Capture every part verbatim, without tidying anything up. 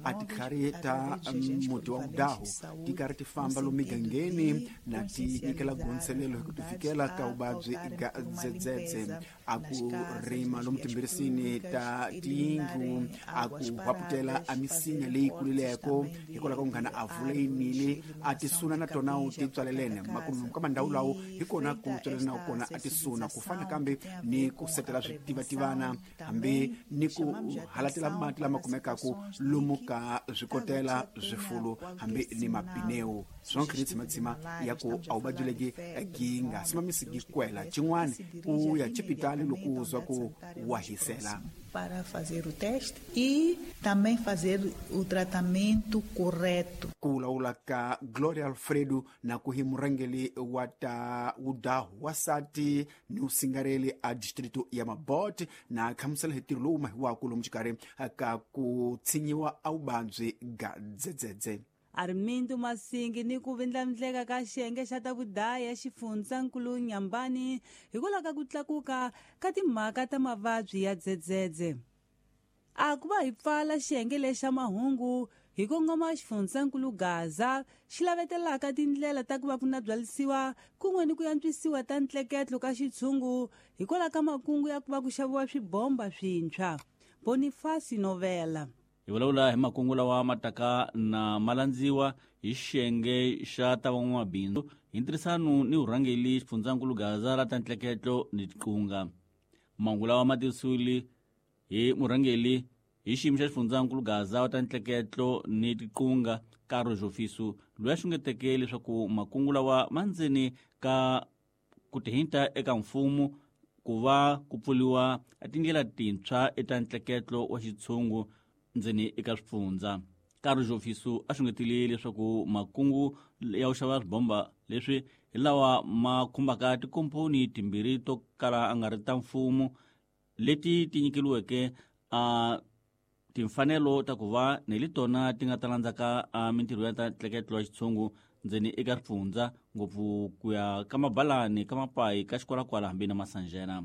A titlhari ta muti wa vudahu ti karhi ti famba lomu migangeni na ti nyikela gonselelo hi ku ti fikela ka vuvabyi ga dzedzedze, a ku rima lomu timbirisini ta tiyindlu, a ku hwaputela a misinya leyi kulileko hikwalaho ka ku nghana a vula yinile a tisuna na tona ti tswalelene makumu ka mandhawu lawo hi kona ku tswalelana kona a tisuna ku fana kambe ni ku setela switivativana hambi ni ku halatela mati lama kumekaku lomu ka swikotela swifulu hambi ni mapineu swonke ni tshimatsima ya ku a vuvabyi legi gi nga simamisi gi kwela xin'wana ku ya xipitali loko u zwa ku wa hisela para fazer o teste e também fazer o tratamento correto. Ku vulavula ka Gloria Alfredo na ku hi murhangeri wa ta wudahu wasati ni usingareli a distrito ya Mabote na khamusela hi ntirho lowu mahiwaku lomu xikarhi ka ku tshinyiwa a vuvabyi ga dzedzedze. Armindo Masingi ni ku vindlavindleka ka xiyenge xa ta vudaya xifundzankulu Nyambani hikwalaho ka ku tlakuka ka timhaka ta mavabyi ya dzedzedze. A ku va hi pfala xiyenge lexa mahungu hi kongoma xifundzankulu Gaza xi lavetelaka tindlela ta ku va ku na byalisiwa kun'we ni ku antswisiwa ta ntleketlo ka xitshungu hikwalaho ka makungu ya ku va ku xaviwa swibomba swintshwa. Boniface Novela. Hi vulavula hi makungu lawa ma taka na malandziwa hi xiyenge xa ta van'wamabindzu hi ntirhisano ni vurhangeri xifundzankulu Gaza ra ta ntleketlo ni tiqunga. Mahungu lawa ma tivisiwile hi murhangeri hi xiyimo xa xifundzankulu Gaza wa ta ntleketlo ni tiqunga Karo Jofiso loyi a xungeteke leswaku makungu lawa ma ndzeni ka ku tihinta eka mfumo ku va ku pfuriwa tindlela tintshwa eta ntleketlo wa xitshungu ndzeni eka swifundza. Karo Jofiso a xungetile leswaku makungu ya ku xava swibomba leswi hi lawa ma khumbaka tikomponi timbirhi to kala a nga ri ta mfumo leti ti nyikeliweke a timfanelo ta ku va ni letona ti nga ta landzaka a mintirho ya ta ntleketlo wa xitshungu ndzeni eka swifundza ngopfu ku ya ka mabalani ka mapayi ka xikwalakwala hambi na masanjena.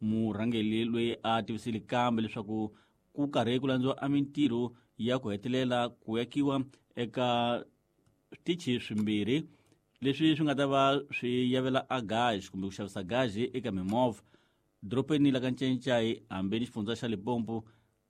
Murhangeri loyi a tivisile kambe leswaku ku karhi ku landziwa a mintirho ya ku hetelela ku yakiwa eka switichi swimbirhi leswi swi nga ta va swi yavela a gaji kumbe ku xavisa gaji eka mimovha dorobeni la ka Ncencai hambi ni xifundza xa Limpopo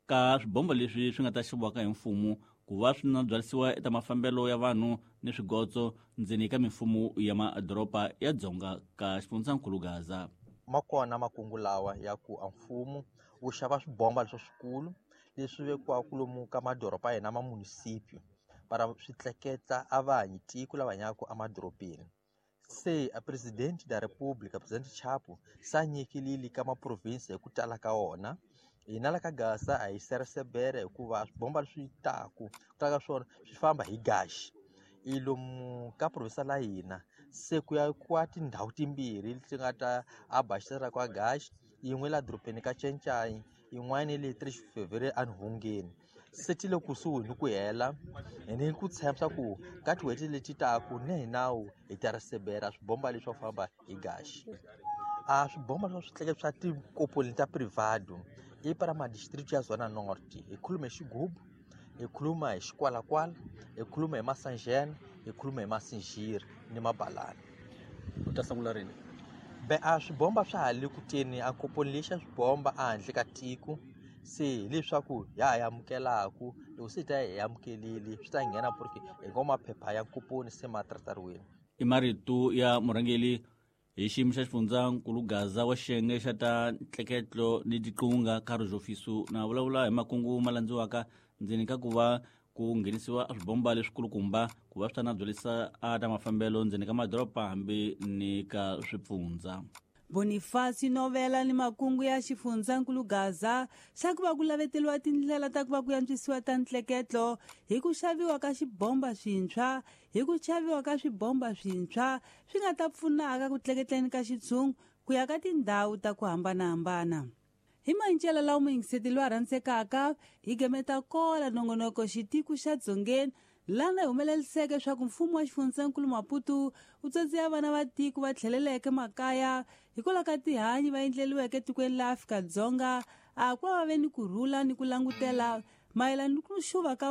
ka swibomba leswi swi nga ta xaviwaka hi mfumo ku va swi na byalisiwa eka mafambelo ya vanhu ni swigotso ndzeni ka mimfumo ya madoroba ya dzonga ka xifundzankulu Gaza. Ma kona makungu lawa ya ku a mfumo wu xava swibomba leswi swikulu leswi vekiwaka lomu ka madoroba ya hina ma municipio para swi tleketla a vanhu tiko lava hanyaka emadorobeni. Se a presidente da República, Presidente Chapo, sa nyikilile ka maprovinsi hi ku tala ka wona. Hina la ka Gaza a hi seresebere hikuva swibomba leswi taku ku tala ka swona swi famba hi gaxi. I lomu ka provinsi la hina se ku ya kwa tindhawu timbirhi leti nga ta abaxisela kwa gaxi, yin'we la dorobeni ka Ncencai, yin'wana le tres Fevereiro enhungeni. Se ti le kusuhi ni ku hela ni ku tshemba ku ka tin'hweti leti taku ni hi nawu hi ta risebera swibomba leswi swo famba hi gaxi. A swibomba swa switleke swa tikomponi ta privado i para madistrito ya Zona Norte. Hi khuluma hi Xigubu, hi khuluma hi Xikwalakwala, hi khuluma hi Masanjena, hi khuluma hi Masinjiri ni Mabalani. U ta sungula rini? Be a swibomba swa ha le ku teni a komponi leyi xa swibomba ehandle ka tiko se hileswaku ya ha amukelaku loko se hi ta hi amukelile swi ta nghena porque hi ngo maphepha ya komponi se ma tratariwile. I marito ya murhangeri hi xiyimo xa xifundzankulu Gaza wa xiyenge xa ta ntleketlo ni tiqunga Karo Jofiso na vulavula hi makungu ma landziwaka ndzeni ka ku va ku nghenisiwa swibomba leswikulukumba ku va swi ta na byalisa a ta mafambelo ndzeni ka madoroba hambi ni ka swipfundza. Boniface Novela ni makungu ya xifundzankulu Gaza xa ku va ku laveteriwa tindlela ta ku va ku antswisiwa ta ntleketlo hi ku xaviwa ka xibomba swintshwa hi ku xaviwa ka swibomba swintshwa swi nga ta pfunaka ku tleketleni ka xitshungu ku ya ka tindhawu ta ku hambanahambana. Hi mancela lawa muyingiseti loyi a rhandzekaka hi gemeta kola nongonoko xitiku xa Dzongeni lana hi humeleliseke swa ku mfumo wa xifundzankulu Maputo wu tsondziya vana va tiko va tlheleleke makaya hikwalaho ka tihanyi va endleliweke etikweni la Afrika-Dzonga a ku va va ve ni kurhula ni ku langutela mayelana ni ku xuva ka